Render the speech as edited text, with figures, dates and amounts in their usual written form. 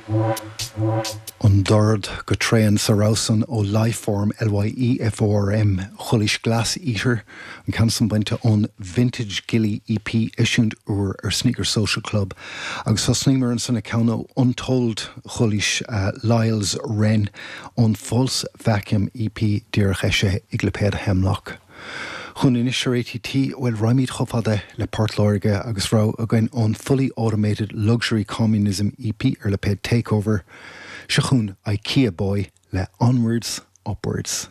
An dord go tréan sa rogha san ó Lyeform, L-Y-E-F-O-R-M, Chualaís Glass Eater, an ceann san bainte ón Vintage Gilly EP, eisiúint úr ar Sneaker Social Club. Agus thosnaíomar ansan le ceann ó Untold, Chualaís Lyle's Wren ón False Vacuum EP, díreach eisithe ag lipéad Hemlock. Chugainn anois ar ATT, bhuel, raghaimid chomh fada le Port Láirge agus rogha againn ón Fully Automated Luxury Communism EP ar lipéad Takeover. Seo chugainn Ikea Boy le Onwards Upwards.